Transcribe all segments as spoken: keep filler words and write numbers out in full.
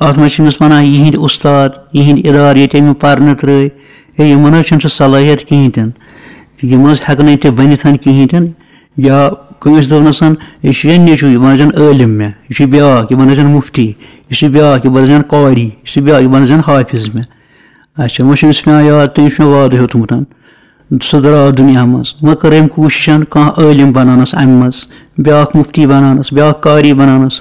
اَتھ منٛز چھِ أمِس وَنان یِہِنٛدۍ اُستاد، یِہِنٛدۍ اِدارٕ، ییٚتہِ أمۍ پَرنہٕ ترٛٲے، ہے، یِمَن حظ چھُنہٕ سُہ صلٲحیت کِہیٖنۍ تہِ نہٕ۔ یِم حظ ہٮ۪کَن نہٕ تہِ بٔنِتھ کِہیٖنۍ تہِ نہٕ۔ یا کٲنٛسہِ دوٚپنَس، یہِ چھُ یہِ نیٚچوٗ، یہِ بَنٲوزٮ۪ن عٲلِم مےٚ، یہِ چھُ بیٛاکھ، یہِ بَنٲوزٮ۪ن مُفتی، یہِ چھُ بیٛاکھ، یہِ بَنٲوزٮ۪ن قاری، یہِ چھُ بیٛاکھ، یہِ بَنٲوزٮ۪ن حافظ مےٚ۔ اچھا، وۄنۍ چھُ أمِس پٮ۪وان یاد، تٔمِس چھُ مےٚ وعدٕ ہیوٚتمُت۔ سُہ درٛاو دُنیا منٛز۔ وۄنۍ کٔر أمۍ کوٗشِش کانٛہہ عٲلِم بَناونَس اَمہِ منٛز، بیٛاکھ مُفتی بَناونَس، بیٛاکھ قاری بَناونَس۔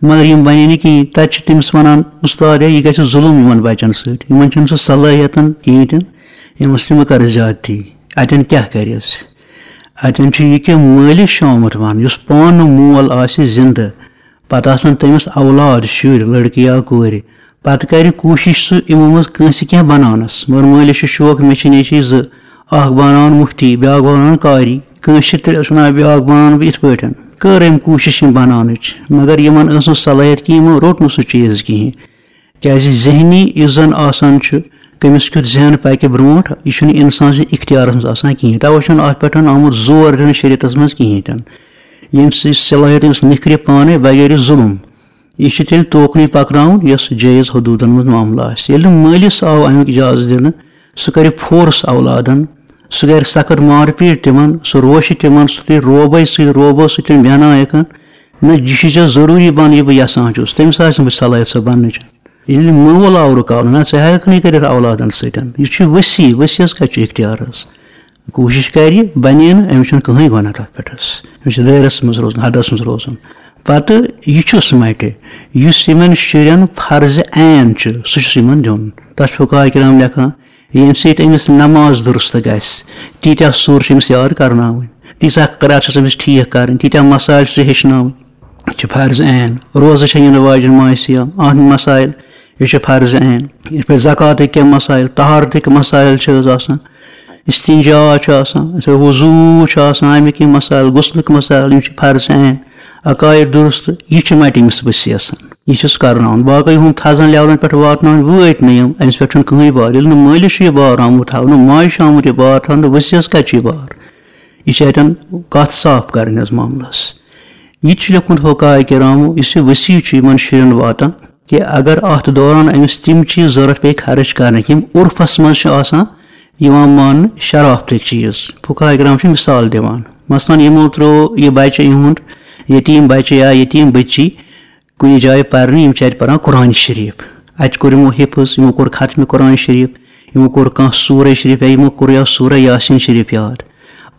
مگر یِم بَنے نہٕ کِہیٖنۍ۔ تَتہِ چھِ تٔمِس وَنان، "اُستاد ہے، یہِ گژھِ ظُلُم یِمَن بَچَن سۭتۍ۔ یِمَن چھُنہٕ سُہ صلٲحیتَن کِہیٖنۍ تہِ نہٕ۔ یِمَن سۭتۍ مہ کَرٕ زیادتی۔" اَتٮ۪ن کیٛاہ کَرٮ۪س؟ اَتٮ۪ن چھُ یہِ کہِ مٲلِس چھُ آمُت وَنہٕ، یُس پانہٕ مول آسہِ زِندٕ، پَتہٕ آسَن تٔمِس اولاد، شُرۍ، لٔڑکہٕ یا کورِ، پَتہٕ کَرِ کوٗشِش سُہ یِمو منٛز کٲنٛسہِ کینٛہہ بَناونَس۔ مگر مٲلِس چھُ شوق، مےٚ چھِ نیٚچِوۍ زٕ، اَکھ بَناوَن مُفتی، بیٛاکھ بَناوَن قاری، کٲنٛسہِ چھِ تہِ وَنان، "بیٛاکھ بَناوَن بہٕ یِتھ پٲٹھۍ۔" کٔر أمۍ کوٗشِش یِم بَناونٕچ، مگر یِمَن ٲس نہٕ صلٲحیت کِہیٖنۍ، یِمو روٚٹ نہٕ سُہ چیٖز کِہیٖنۍ۔ کیٛازِ ذہنی یُس زَن آسان چھُ، کٔمِس کیُتھ ذہن پَکہِ برونٛٹھ، یہِ چھُنہٕ اِنسان سٕنٛدِ اختیارَس منٛز آسان کِہیٖنۍ۔ تَوَے چھُنہٕ اَتھ پٮ۪ٹھ آمُت زور دِنہٕ شریعتَس منٛز کِہیٖنۍ تہِ نہٕ۔ ییٚمہِ سۭتۍ صلٲحیت أمِس نِکھرِ پانَے بغٲرِ ظُلُم۔ یہِ چھُ تیٚلہِ توکُنُے پَکناوُن، یۄس جٲیِز حدوٗدَن منٛز معاملہٕ آسہِ۔ ییٚلہِ نہٕ مٲلِس آو اَمیُک اِجازت دِنہٕ، سُہ کَرِ فورس اولادَن، سُہ کَرِ سخت مار پیٖٹ تِمَن، سُہ روشہِ تِمَن، سُہ تُلہِ روبَے سۭتۍ، روبو سۭتۍ تِم بیٚہناوٮ۪کھ۔ نہ، یہِ چھُ ژےٚ ضروٗری بَنُن، یہِ بہٕ یَژھان چھُس، تٔمِس آسہِ نہٕ صلٲحیت سۄ بَننٕچ۔ ییٚلہِ مول آو رُکاونہٕ، نہ، ژٕ ہٮ۪کَکھ نہٕ یہِ کٔرِتھ اولادَن سۭتۍ۔ یہِ چھُ ؤسی، ؤسیَس کَتہِ چھُ اختیار حظ؟ کوٗشِش کَرِ، بَنے نہٕ، أمِس چھُنہٕ کٕہٕنۍ گۄناہ تَتھ پٮ۪ٹھ حظ۔ أمِس چھُ دٲیرَس منٛز روزُن، حدَس منٛز روزُن۔ پَتہٕ یہِ چھُس مَٹہِ، یُس یِمَن شُرٮ۪ن فرض عین چھُ، سُہ چھُس یِمَن دیُن۔ تَتھ چھُ فقہاء کرام لیکھان، ییٚمہِ سۭتۍ أمِس نماز درست گژھِ، تیٖتیٛاہ سورٕ چھِ أمِس یاد کرناوٕنۍ، تیٖژاہ قرات چھَس أمِس ٹھیٖک کَرٕنۍ، تیٖتیٛاہ مسائل چھِ ژےٚ ہیٚچھناوٕنۍ۔ یہِ چھِ فرض عین۔ روزٕ چھےٚ یِنہٕ واجٮ۪ن ماہِ صیام، اَتھ مسائل، یہِ چھِ فرض عین۔ یِتھ پٲٹھۍ زکاتٕکۍ کینٛہہ مسائل، طہارتٕکۍ مسائل چھِ حظ آسان، استنجا چھُ آسان، یِتھ پٲٹھۍ وضوٗ چھُ آسان، اَمِکۍ کینٛہہ مسائل، غسلٕکۍ مسائل، یِم چھِ فرض عین۔ عقائد درست، یہِ چھِ مَٹہِ أمِس ؤسیَس۔ یہِ چھُس کرناوُن۔ باقٕے ہُم تھزن لیولن پٮ۪ٹھ واتناوٕنۍ وٲتۍ نہٕ یِم، أمِس پٮ۪ٹھ چھُنہٕ کٕہٕنۍ بار۔ ییٚلہِ نہٕ مٲلِس چھُ یہِ بار آمُت تھاونہٕ، ماجہِ چھُ آمُت یہِ بار تھاونہٕ، ؤسیَس کَتہِ چھُ یہِ بار؟ یہِ چھِ اَتٮ۪ن کَتھ صاف کَرٕنۍ حظ معاملَس۔ یہِ تہِ چھُ لیوٚکھمُت فقہاء کرامو، یُس یہِ ؤسی چھُ یِمَن شُرٮ۪ن واتان، کہِ اگر اَتھ دوران أمِس تِم چیٖز ضوٚرَتھ پیٚیہِ خرٕچ کَرنٕکۍ، یِم عُرفَس منٛز چھِ آسان یِوان ماننہٕ شرافتٕکۍ چیٖز۔ فقہاء کرام چھِ مِثال دِوان، مثلاً یِمو ترٛوو یہِ بَچہٕ، یِہُنٛد یتیٖم بَچہٕ یا یتیٖم بٔچی، کُنہِ جایہِ پرنہِ، یِم چھِ اَتہِ پران قرآن شریٖف۔ اَتہِ کوٚر یِمو حفظ، یِمو کوٚر ختمِ قرآن شریٖف، یِمو کوٚر کانٛہہ سورہ شریٖف یا یِمو کوٚر یا سورہ یاسین شریٖف یاد۔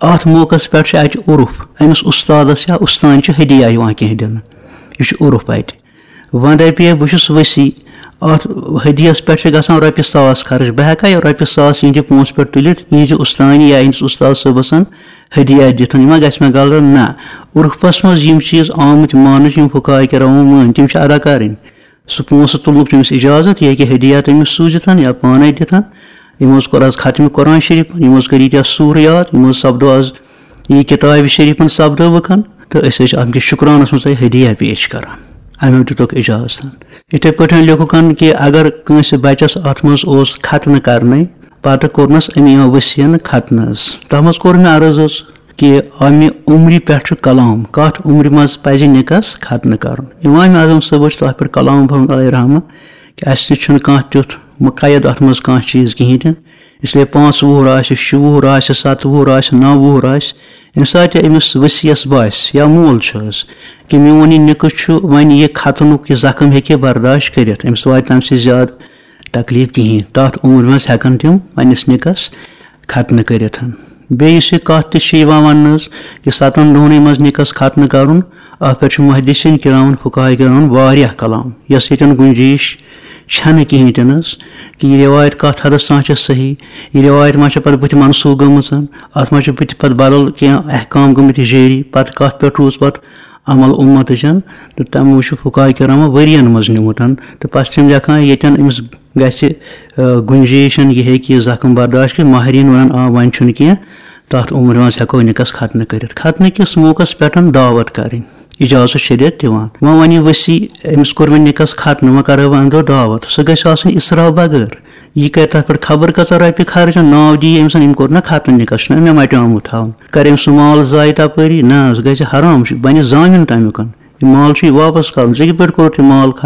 اَتھ موقعس پٮ۪ٹھ چھُ اَتہِ عُرُف، أمِس اُستادس یا اُستانہِ چھُ ہدیہ یِوان کینٛہہ دِنہٕ۔ یہِ چھُ عُرُف اَتہِ۔ وۄنۍ دَپہِ ہے، بہٕ چھُس ؤسی، اَتھ ہدیَس پٮ۪ٹھ چھِ گژھان رۄپیہِ ساس خرٕچ، بہٕ ہٮ۪کا یہِ رۄپیہِ ساس یِہِنٛدِ پونٛسہٕ پٮ۪ٹھ تُلِتھ، یِہِنٛدِ اُستانہِ یا یِہِنٛدِس اُستاد صٲبَسَن ہدیہ دِتھ؟ یہِ ما گژھِ مےٚ غلط؟ نہ۔ عُرفَس منٛز یِم چیٖز آمٕتۍ ماننہٕ چھِ، یِم فقہاء کرامو مٲنۍ، تِم چھِ ادا کَرٕنۍ۔ سُہ پونٛسہٕ تُلنُک چھُ أمِس اِجازت، یہِ ہیٚکہِ ہدیہ تٔمِس سوٗزِتھ یا پانَے دِتھ۔ یِمو حظ کوٚر آز ختمِ قرآن شریٖف، یِمو حظ کٔر ییٖتیٛاہ سوٗرٕ یاد، یِمو حظ سپدو آز یہِ کِتابہِ شریٖفَن سپدٲوٕکھ، تہٕ أسۍ حظ چھِ اَمہِ کِس شُکرانَس منٛز تۄہہِ ہدیہ پیش کران۔ اَمہِ دیُتُکھ اِجازت۔ یِتھَے پٲٹھۍ لیوٚکھُکھ کہِ اگر کٲنٛسہِ بَچَس اَتھ منٛز اوس ختنہٕ کرنَے، پَتہٕ کوٚرنَس أمۍ یِمَن ؤسیَن ختنہٕ حظ۔ تَتھ منٛز کوٚر مےٚ عرض حظ کہِ اَمہِ عُمرِ پٮ۪ٹھ چھُ کلام، کَتھ عُمرِ منٛز پَزِ نِکَس ختنہٕ کَرُن؟ اِمام اعظم صٲب حظ چھِ تَتھ پٮ۪ٹھ کلام فرمومُت علیہ رحمہ کہِ اَسہِ نِش چھُنہٕ کانٛہہ تیُتھ مُقید اَتھ منٛز کانٛہہ چیٖز کِہیٖنۍ تہِ نہٕ۔ اس لیے پانٛژھ وُہُر آسہِ، شُہ وُہُر آسہِ، سَتہٕ وُہُر آسہِ، نَو وُہُر آسہِ، ییٚمہِ ساتہٕ تہِ أمِس ؤسیَس باسہِ یا مول چھُ حظ کہِ میون یہِ نِکہٕ چھُ، وۄنۍ یہِ ختنُک یہِ زخم ہیٚکہِ برداشت کٔرِتھ، أمِس واتہِ تَمہِ سۭتۍ زیادٕ تکلیٖف کِہیٖنۍ۔ تَتھ عُمرِ منٛز ہٮ۪کَن تِم پنٛنِس نِکَس ختنہٕ کٔرِتھ۔ بیٚیہِ یُس یہِ کَتھ تہِ چھِ یِوان وَننہٕ حظ کہِ سَتَن دۄہنٕے منٛز نِکَس ختنہٕ کَرُن، اَتھ پٮ۪ٹھ چھُ محدثین کرامن، فقہاء کرامن واریاہ کلام، یۄس ییٚتٮ۪ن گُنجٲیِش چھَنہٕ کِہیٖنۍ تہِ نہٕ حظ، کہِ یہِ رِوایت کَتھ حدس تام چھےٚ صحیح، یہِ رِوایت ما چھےٚ پَتہٕ بٕتھِ منسوخ گٔمٕژ، اَتھ ما چھِ بٕتھِ پَتہٕ بدل کینٛہہ احکام گٔمٕتۍ جٲری، پَتہٕ کَتھ پٮ۪ٹھ روٗز پَتہٕ عمل اُمتٕچَن، تہٕ تَمہِ موٗجوٗب فقہاء کرامن ؤرِیَن منٛز نیوٗمُت، تہٕ پَتہٕ چھِ تِم لیکھان ییٚتٮ۪ن أمِس گژھِ، آ، گُنجٲیِش، یہِ ہیٚکہِ یہِ زخم برداشت کٔرِتھ، ماہریٖن وَنان، آ، وۄنۍ چھُنہٕ کینٛہہ، تَتھ عُمرِ منٛز ہٮ۪کو نِکَس ختنہٕ کٔرِتھ۔ ختنہٕ کِس موقعس پٮ۪ٹھ دعوت کَرٕنۍ، اِجازت شریعت دِوان۔ وۄنۍ وَنہِ ؤسی، أمِس کوٚر وۄنۍ نِکَس ختنہٕ، وۄنۍ کَرو وۄنۍ اَمہِ دۄہ دعوت، سُہ گژھِ آسُن اِسراف بغٲر۔ یہِ کَرِ تَتھ پٮ۪ٹھ خبر کۭژاہ رۄپیہِ خرچ، ناو دِیہِ أمِس، أمۍ کوٚر نہ ختنہٕ نِکَس، چھُنہ مےٚ مَٹیومُت تھاوُن۔ کَرِ أمۍ سُہ مال ضایع تَپٲری؟ نہ، سُہ گژھِ حرام، سُہ بَنہِ ضامِن تَمیُک۔ یہِ مال چھُ یہِ واپس کَرُن، ژےٚ کِتھ پٲٹھۍ کوٚرُتھ یہِ مال خرٕچ؟